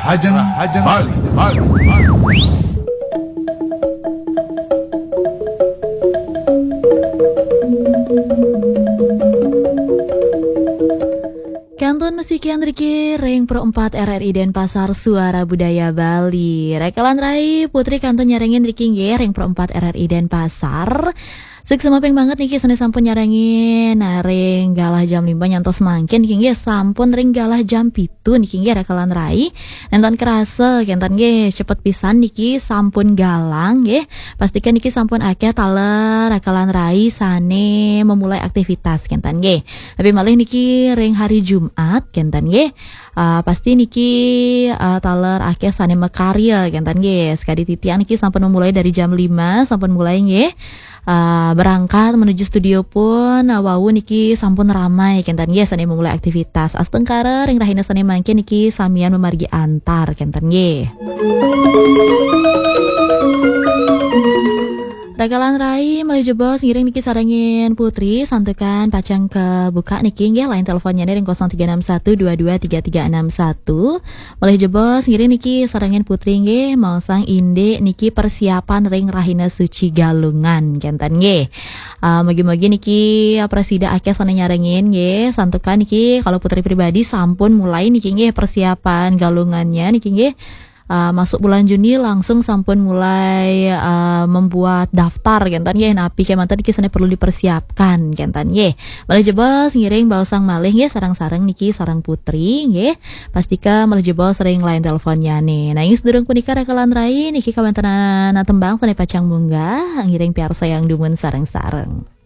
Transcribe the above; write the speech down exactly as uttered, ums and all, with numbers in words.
Ajeng, ajeng, Bali, Bali, Bali. Kantun masih kian riki ring Pro empat R R I Denpasar, Suara Budaya Bali. Rakalan rai, Putri kantun nyarengin riki nggih ring Pro empat R R I Denpasar. Suksma ping banget niki sane sampun nyarengin, nah, ring galah jam lima nyantos mangkin niki nggih sampun ring galah jam pitu niki nggih rakalan rai. Nenten kerasa kenten nggih, cepet pisan niki sampun galah nggih. Pastikan niki sampun akeh taler rakalan rai sane memulai aktivitas kenten nggih. Tapi malih niki ring hari Jumat kenten nggih. Ah, pasti niki, ah, taler akeh sane makarya kenten nggih. Sekadi titiang niki sampun memulai dari jam lima, sampun mulai nggih. Ah, berangkat menuju studio pun, ah, wau niki sampun ramai kenten nggih sane memulai aktivitas. Astungkara ring rahina sane mangkin niki samian memargi antar kenten nggih. Rakalan rai, malih jebos ngiring niki sarengin Putri, santukan pacang kebuka niki nggih, line teleponnya nih ring kosong tiga enam satu dua dua tiga tiga enam satu. Malih jebos ngiring niki sarengin Putri nggih, maosang indik niki persiapan ring Rahina Suci Galungan kenten nggih. Ah, mugi-mugi niki, ah, prasida akeh sane nyarengin nggih, santukan niki kalau Putri pribadi sampun mulai niki nggih persiapan galungannya niki nggih. Ah, masuk bulan Juni langsung sampun mulai, ah, membuat daftar kenten nggih. Napi kemanten niki sane perlu dipersiapkan kenten nggih. Malih jebos ngiring baosang malih nggih sareng-sareng niki sareng Putri nggih. Pastika malih jebos ring line teleponnya nih. Nah, ing sedurung punika rakalan rai niki kawentenan tembang sane pacang munggah ngiring piarsayang dumun sareng-sareng.